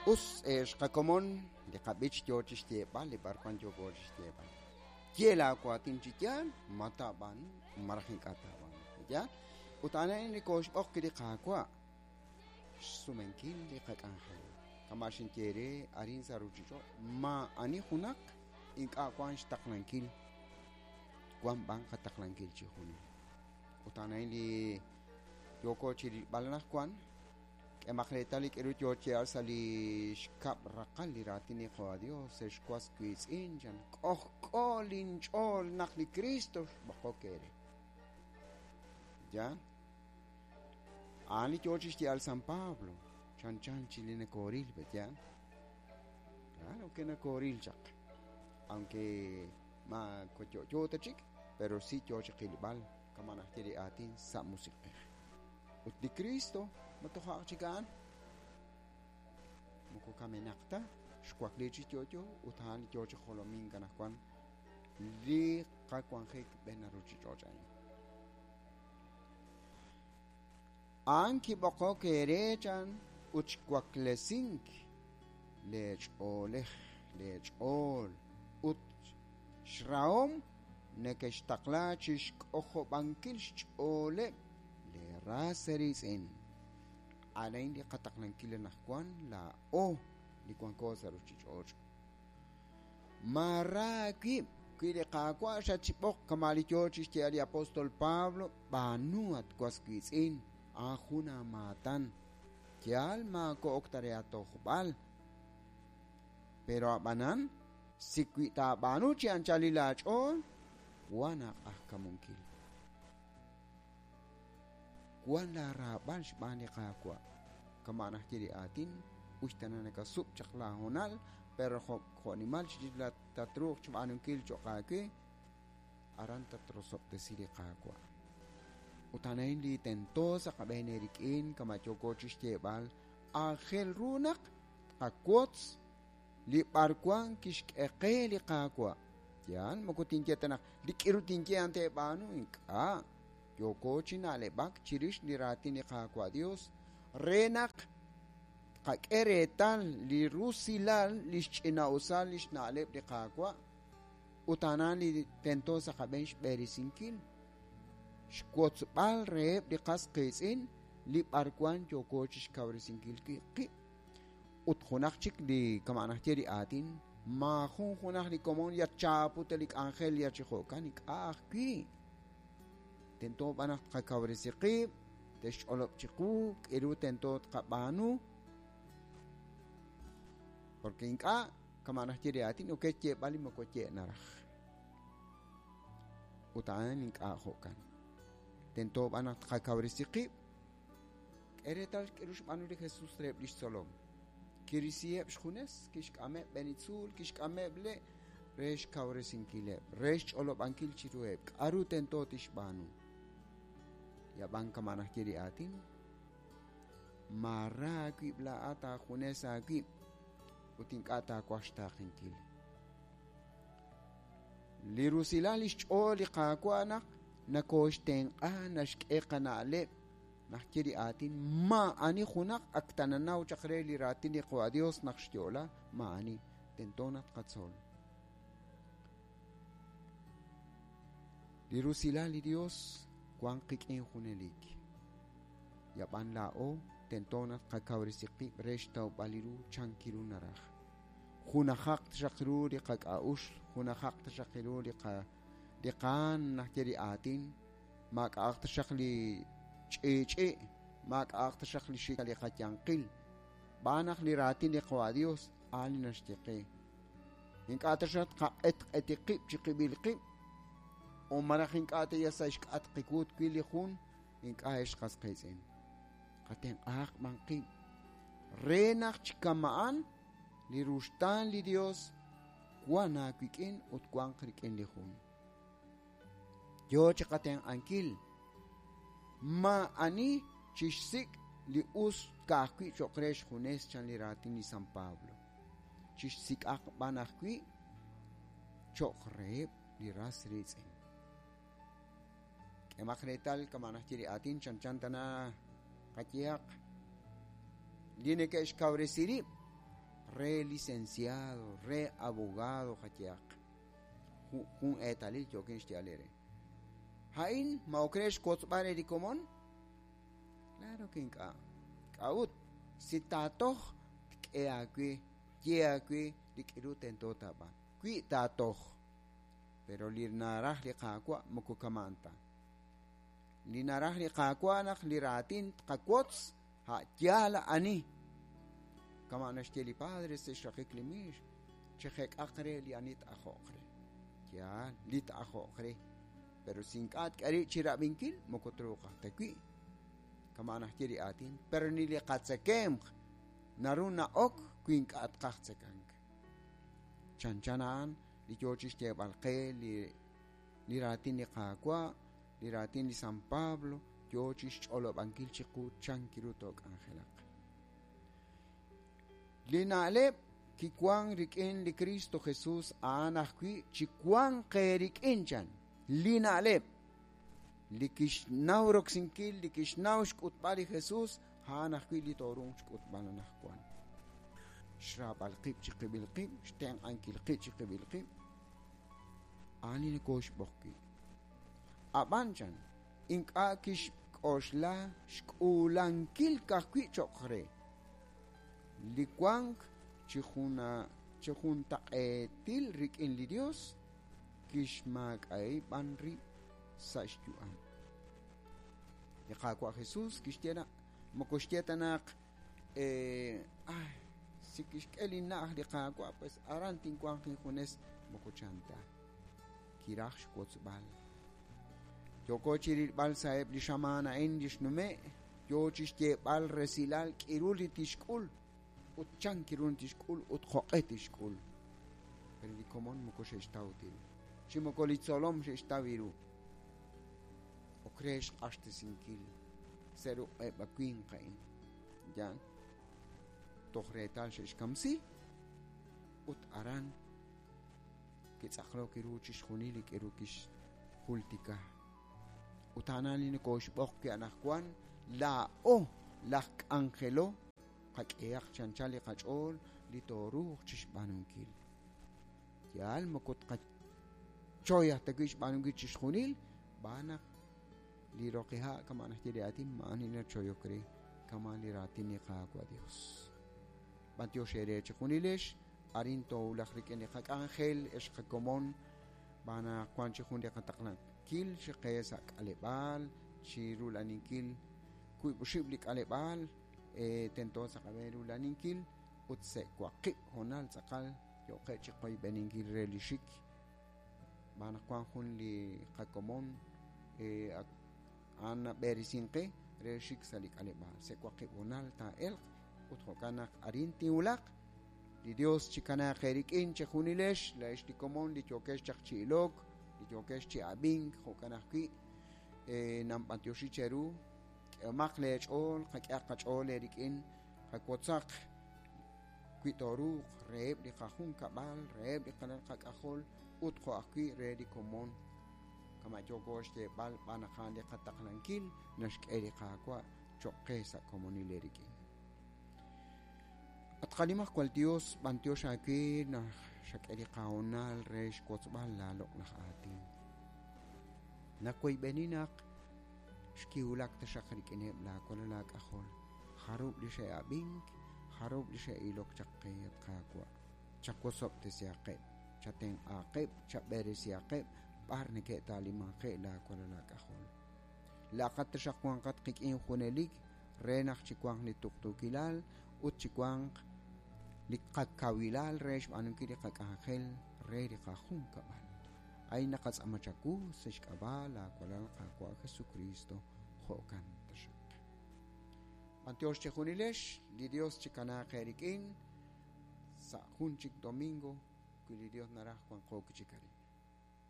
Us ex qakomon li qab'ich yo chi xyeeb'al li b'arwan yooko chi xyeeb'al. Ye laawaatin chi yaal, ma taab'aanu malaj ink'a' taab'aanu. Yaal? Ut a'an a'in li kooxb'oq wi' li Qaawa' xsumenkil li qak'anjel. Kama' xinye eere arin sa' ruuchich'och' maa'ani junaq ink'a' wank xtaqlankil, wank b'an qataqlankil chi junil. Ut a'an a'in li yooko chi rilb'al anaqwan. K'emaq reetal li k'aru yo chi yaal sa' li xkab' raqal li raatin li Qaawa' Dios, ex was wiitz'in, chan, k'ojk'o linch'ool naq li Kristo xb'oqok eere. Yaal? A'an li yo chi xye'al San Pablo, chanchan chi li nokooril, pe yaal? Claro que nokooril chaq. Aunque ma yo'yo ta chik, pero si yo chi qilb'al kama' naxye li aatin sa' musiq'ej. Ut li Kristo ma toja' chik a'an moko kamenaq ta, xwakli chi yo'yo ut a'an li yo chi jolomink anaqwan li qawanjik b'en ruuchich'och' a'in. A'an kib'oqok eere chan ut xwaklesink leech'oolej, leech'ool ut xrahom nekextaqla chi xk'ojob'ankil xch'ooleb' lee ras eeriitz'in. A'an li qataqlankil anaqwan laa'o li wanko sa' ruuchich'och'. Maara aawib' wi li Qaawa' xatxb'oq kama' li yo chi xye'al li apóstol Pablo, b'aanu at was wiitz'in, a'an jun aamaatan. Yaal maako'ok ta re aatojb'al. Pero ab'anan, si wi taab'aanu chi anchalil aach'ool, wan aaq'ajkamunkil. Wan laaraab'al xb'aan li Qaawa'. Kama' naxye li aatin, us tana nakasub' chaq laahoonal, pero jo'nimal chirix tatruuq xb'aanunkil cho'q aawe, aran tatrosob'tesi li Qaawa'. Ut a'an a'in li tento sa' qab'een eerik'in kama' yooko chi xyeeb'al, aajel ru naq tqawotz li b'arwan kixk'e qe li Qaawa'. Yaal, moko tinye ta naq li k'iru tinye a'an teeb'aanu, ink'a'. Yooko chi na'leb'ak chirix li raatin li Qaawa' Dios re naq tqak'e reetal li rusilal li xch'ina'usal li xna'leb' li Qaawa' ut a'an li tento sa' qab'een xb'eresinkil, xwotzb'al reheb' li qas qiitz'in li b'arwan yooko chi xkawresinkil qib'. Ut junaq chik li kama' naxye li aatin, maajun junaq li komon yatchaaputa li k'anjel ya chi jo'kan ink'a' ajwi'. Tento b'an naq tqakawresi qib', te'xch'olob' chiqu k'aru tento tqab'aanu. Porque ink'a' kama' naxye li aatin, ok xyeeb'al li moko ye naraj. Ut a'an ink'a' jo'kan. Tento b'an naq tqakawresi qib'. K'e reetal k'aru xb'aanu li Jesús reheb' li xtzolom. Kirisiheb' xjunes, kixk'ameb' b'en tzuul, kixk'ameb' le' re xkawresinkileb', re xch'olob'ankil chiruheb' k'aru tento tixb'aanu. Yab'an kama' naxye li aatin, maara aawib' laa'at aajunes aawib' ut ink'a' taawaj xtaaqenkil. Li rusilal li xch'ool li Qaawa' naq nakooxtenq'a naxk'e qana'leb' naxye li aatin maa'ani junaq ak tananaw chaq re li raatin li Qaawa' Dios naq xyo'la maa'ani tento naq tqatzol. Li rusilal li Dios wank qik'in junelik. Yab'an laa'o tento naq tqakawresi qib' re xtawb'al li ru chankiru naraj. Junajaq taxaq ru li qak'a'uxl, junajaq taxaq ru li qa li qaan naxye li aatin, maak'a'aq taxaq li ch'i'ch'i', maak'a'aq taxaq li xik li qayanqil. B'aan naq li raatin li Qaawa' Dios a'an li naxye qe. Ink'a' taxaq tqaq'etq'eti qib' chi qib'il qib', o malaj ink'a' ta yal sa' xk'atq qiwut wi li jun ink'a' ex qas qiitz'in. Qatenq'ahaq b'an qib' re naq chi kama'an li ruxtaan li Dios wan aawik'in ut wanq rik'in li jun. Yo chi qatenq'ankil maa'ani chixsik' li us ka'ajwi' cho'q re xjunes chan li raatin li San Pablo. Chixsik'aq b'an ajwi' cho'q reheb' li ras riitz'in. K'emaq reetal kama' naxye li aatin chanchan tana qayehaq li neke'xkawresi rib' re licenciado, re abogado qayehaq. Jun eetalil yookin xyeeb'al eere. A'in ma ok re xwotzb'al re li komon? Claro que ink'a'. K'a'ut? Si taatoj, tk'e aawe, tye aawe li k'iru tento taab'aanu. Wi taatoj. Pero li naraj li Qaawa' moko kama'an ta. Li naraj li Qaawa' naq li raatin tqawotz a' yaal ani. Kama' naxye li Padre sa' xraqik li miix, chejek'aq re li ani t-ajo'q re. Yaal, li t-ajo'q re. Pero si ink'a' tk'e rib' chi rab'inkil, moko truuq aj ta wi'. Kama' naxye li aatin, pero ni li qatzekemq naru na'ok wi ink'a' tqaj tzekank. Chanchan a'an li yoo chi xyeeb'al qe li li raatin li Qaawa', li raatin li San Pablo, yoo chi xch'olob'ankil chiqu chan ru took'anjelaq. Li na'leb' kiwank rik'in li Kristo Jesus a'an ajwi' chiwanq eerik'in chan. Li na'leb' li kixnaw roksinkil, li kixnaw xk'utb'al li Jesus, a'an ajwi' li tooruuq xk'utb'al anaqwan. Xraab'al qib' chiqib'il qib', xtenq'ankil qib' chiqib'il qib', a'an li nokooxb'oq wi'. Ab'an chan, ink'a' kixk'oxla xk'uulankil ka'ajwi' cho'q re. Li wank chi juntaq'eetil rik'in li Yos kixmaak'a'i b'an rib' sa' xyu'am. Li Qaawa' Jesus kixye naq moko xye ta naq ay si kixk'e li na'aj li Qaawa' pues aran tinwanq injunes moko chan ta. Kiraj xwotzb'al. Yooko chi rilb'al sa'eb' li xamaan a'in li xnume' yoo chi xyeeb'al resilal k'iru li tixk'ul ut chan kiru tixk'ul ut jo'q'e tixk'ul. Pero li komon moko xe'xtaw ta ru. Chi moko li tzolom xe'xtaw ru. Ok re xq'axtesinkil sa' ruq'eb' a winq a'in. Yaal. Toj reetal xe'xkamsi ut aran kitz'aqlok ru chixjunil li k'iru kixjultika. Ut a'an li nokooxb'oq wi' anaqwan laa'o laj k'anjelo qak'ehaq chi anchal li qach'ool li tooruuq chixb'aanunkil. Yaal moko tqachoy aj ta wi' xb'aanunkil chixjunil, b'aan naq li roqiha' kama' naxye li aatin ma'ani nachoyok re kama' li raatin li Qaawa' Dios. B'antiox eere chejunilex, arin toowulaq rik'in li qak'anjel ex qakomon, b'aan naq wank chi jun li qataqlankil chi qe sa' k'aleb'aal, chi rula'aninkil wiib' oxib' li k'aleb'aal, tento sa' qab'een rula'aninkil ut sa' waqib' hoonal tz'aqal yooqeb' chi qoyb'eninkil re li xik. B'aan naq wank jun li qakomon a'an nab'eresink qe re xik sa' li k'aleb'aal. Sa' waqib' hoonal taa'elq ut jo'kan naq arin tinwulaq. Li Dios chikanaaq eerik'in chejunilex, laa'ex li komon li yookex chaq chi ilok, li yookex chi ab'ink, jo'kan ajwi' nanb'antioxi cheru. K'ehomaq leech'ool, qak'ehaq qach'ool eerik'in, qawotzaq wi tooruuq reheb' li qajunkab'al, reheb' li qalal qak'ajol ut jo' ajwi' re li komon. Kama' yooko xyeeb'al b'aan naq a'an li qataqlankil naxk'e li Qaawa' cho'q qe sa' komonil eerik'in. At qaNimajwal Dios, b'antiox aawe naq xak'e li qahoonal re xwotzb'al laaloq'laj aatin. Nawoyb'eni naq xkiwulak taxaq rik'ineb' laawalal aak'ajol, jarub' li xe'ab'ink, jarub' li xe'ilok chaq qe, at Qaawa'. Chawosob'tesihaqeb', chatenq'aaqeb', chab'eresihaqeb' b'ar neke'taalimanje'k laawalal aak'ajol. Laa'aqat taxaq wanqat qik'in junelik re naq chiwanq li tuqtuukilal ut chiwanq li qakawilal re xb'aanunkil li qak'anjel re li qajunkab'al. A'in naqatz'aama chawu sa' xk'ab'a' laawalal Qaawa' Jesukristo, jo'kan taxaq. B'antiox chejunilex, li Dios chikanaaq eerik'in sa' jun chik domingo wi li Dios naraj wanqo wi' chik arin.